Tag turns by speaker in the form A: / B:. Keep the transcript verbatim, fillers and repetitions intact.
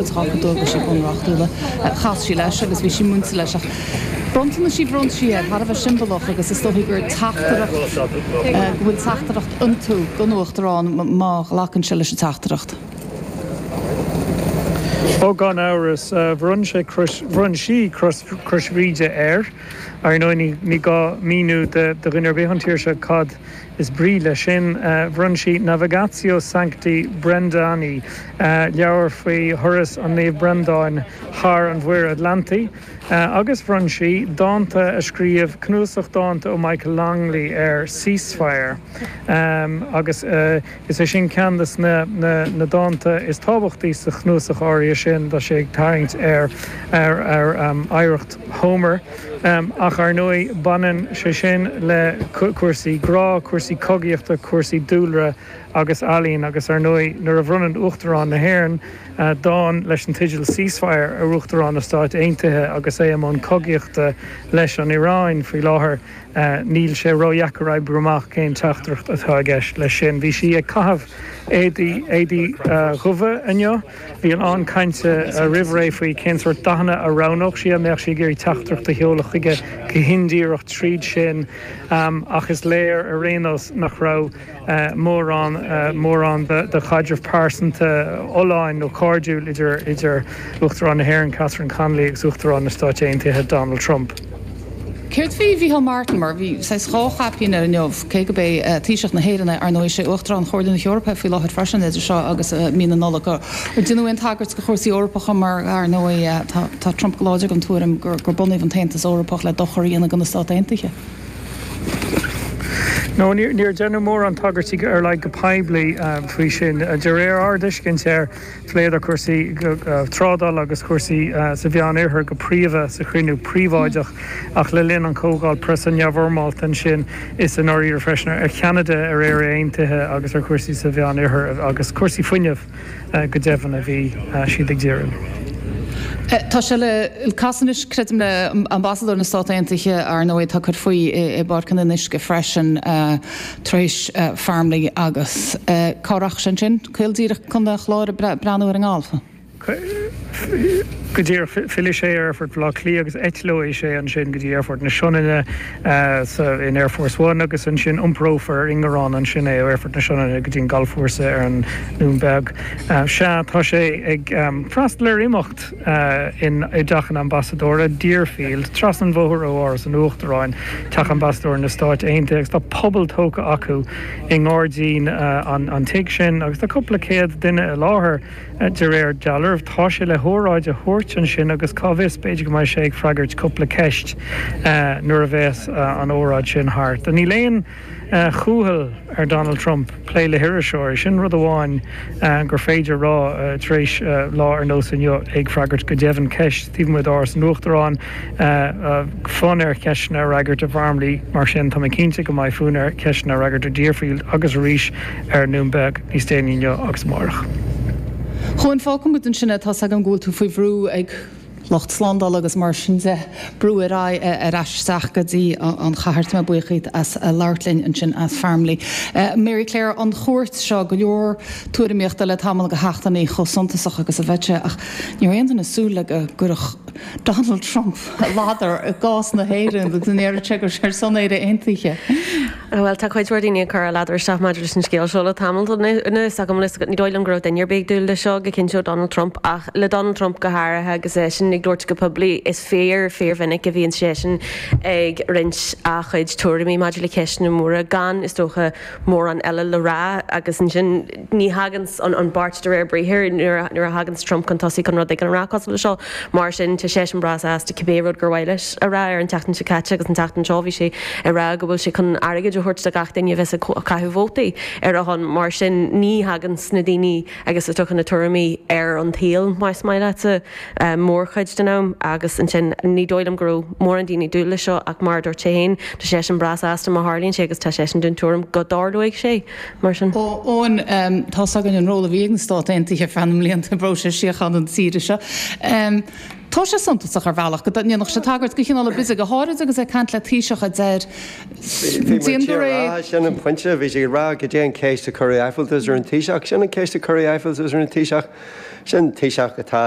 A: Tá dualgaisí bunreachtúla. Chas sí leis agus bhí sí múinte leis ach bronntanais a bhronn sí air thar a bheith siombalach agus is dóigh gur teachtaireacht go bhfuil teachtaireacht iontu don Uachtarán má ghlacann sé leis an teachtaireacht.
B: Ó gan amhras bhronn sé bhronn sí Crois Bhríde air ar ndóigh ní gá míniú do dhuine ar bith an tír seo cad is brí leis sin bhronn sí Navigatio Sancti Brendani leabhar faoi thuras an Naomh Brendáin thar an Mhuir Atlantaigh agus bhronn sí dánta a scríobh cnuasach dánta ó Michael Longley ar ceasefire agus is é sin ceann de na na dánta is tábhachtaí sa chnuasach áirithe sin tá sé ag tarraingt ar ar ar oidhreacht Homer ach ar ndóigh baineann sé sin le cúrsaí grá, cúrsaí cogaíochta, cúrsaí dúlra agus ealaín agus ar ndóigh nuair a bhronnann Uachtarán na hÉireann dán leis an teideal ceasefire ar Uachtarán na Stáit Aontaithe agus é i mbun cogaíochta leis an Iaráin faoi láthair níl sé ródheacair oibriú amach cén teachtaireacht atá i gceist leis sin. Bhí sí ag caitheamh éadaí éadaí dubha inniu, Bhí an cainte roimh ré faoi cén sórt dathanna a roghnódh sí an mbeadh sí ag iarraidh teachtaireacht a sheoladh chuige go hindíreach tríd sin ach is léir ar aon nós nach raibh mórán mórán de chaidreamh pearsanta fholláin nó cairdiúil idir idir Uachtarán na hÉireann Catherine Connolly agus Uachtarán na Stáit Aontaithe Donald Trump.
A: Céard faoi Mhícheál Martin mar bhí sé dhá chaipín air inniu cé gurb é Taoiseach na hÉireann ar ndóigh sé Uachtarán Chomhairle na hEorpa faoi láthair freisin idir seo agus mí na Nollag ar deineadh aon tagairt do chúrsaí Eorpacha mar ar ndóigh tá Trump go láidir den tuairim gur gur bunaíodh an tAontas Eorpach le dochar a dhéanamh do na Stáit Aontaithe.
B: No níor deineadh mórán tagairtí ar like go poiblí faoi sin de réir ár dtuiscint air phléadar cúrsaí trádála agus cúrsaí sa Mheánoirthear go príomha sa chruinniú príobháideach ach le linn an chomhdháil preasa neamhfhoirmeálta ansin is in áiríre freisin ar Cheanada ar Éire Aontaithe agus ar chúrsaí sa Mheánoirthear agus cúrsaí fuinnimh go deimhin a bhí siad ag díriú.
A: Tá sé le casadh anois creidim le ambasadóir na Stát Aontaithe ar ndóigh tá cur faoi i bPáirc an Fhionnuisce freisin tar éis Farmleigh agus cá rachaidh sé ansin caol díreach chun an Chláir breathnú ar an ngalf.
B: Go díreach fillfidh sé ar Aerfort Bhaile Átha Cliath agus eitleoidh sé ansin go dtí Aerfort na Sionainne in Air Force One agus ansin iomprófar ar ingearán ansin é ó Aerfort na Sionainne go dtí an galfchúrsa ar an nDún Beag. Sea tá sé ag freastal ar imeacht in i dteach an ambasadóra Deerfield, trasna an bhóthair ó Áras an Uachtaráin, teach ambasadóir na Stáit Aontaithe agus tá puball tógtha acu i ngairdín an tigh sin agus tá cúpla céad duine i láthair de réir dealraimh. Tá sé le hóráid a thabhairt ansin agus cá bhfios b'fhéidir go mbeidh sé ag freagairt cúpla ceist nuair a bheas an óráid sin thart. Níl aon chúthail ar Donald Trump plé le hiriseoirí sin rud amháin gur féidir rá tar éis lá ar nós inniu ag freagairt go deimhin ceist taobh amuigh d'Áras an Uachtaráin fonn air ceisteanna a fhreagairt i bhFarmleigh mar sin tá mé cinnte go mbeidh fonn air ceisteanna a fhreagairt ar Deerfield agus arís ar an nDún Beag níos déanaí inniu agus amárach.
A: Chuan fágfaidh muid ansin é tá agam go bhfuil tú faoi bhrú ag lucht slándála agus mar sin de brú ar aghaidh ar ais isteach go dtí an chathair mé buíoch as labhairt linn ansin as Farmleigh. Mary Claire an chuairt seo go leor tuairimíochta le tamall de sheachtainí chomh suntasach agus a bheadh sé ach ní raibh aon duine ag súil le go gcuirfeadh Donald Trump ladar i gcás na hÉireann agus an éire gur ar son Éire Aontaithe.
C: Well tá cuid mhór daoine ag cur a ladar isteach maidir leis an scéal seo le tamall anuas agam ní dóigh liom go raibh duine ar bith ag dúil le seo go cinnte ó Donald Trump ach le Donald Trump go háirithe agus é sin ag labhairt go poiblí is fíor fíormhinic a bhíonn sé sin ag roinnt a chuid tuairimí maidir le ceisteanna móra gan is dócha mórán eile le rá agus ansin ní thagann an an beart de réir briathair nuair a thagann Trump chun tosaigh chun rud éigin a rá cosúil le seo mar sin tá sé sin breá sásta cibé rud gur mhaith leis a rá ar an tseachtain seo caite agus an tseachtain seo bhí sé ag rá go bhfuil sé chun airgead a thabhairt do gach duine a bheas ag caitheamh vótaí ar a shon mar sin ní thagann na daoine agus is dócha na tuairimí ar an tsaol más maith leatsa mórchuid den am agus ansin ní dóigh liom go raibh mórán daoine ag dúil le seo ach mar a dúirt sé féin tá sé sin breá sásta má tharlaíonn sé agus tá sé sin den tuairim go dtarlóidh sé mar sin.
A: Eoin tá againn an ról a bhí ag na Stáit Aontaithe feadh na mblianta i bpróiseas síochána na tíre seo. Tá sé suntasach ar bhealach go ndéanfadh sé tagairt do chineál ar bith go háirid agus é ag caint le Taoiseach a deir
D: Déan go réidh. Sin an pointe bhí sé ag rá go dté an ceist a cuireadh aiféaltas ar an Taoiseach sin an ceist a cuireadh aiféaltas ar an Taoiseach. Sin Taoiseach atá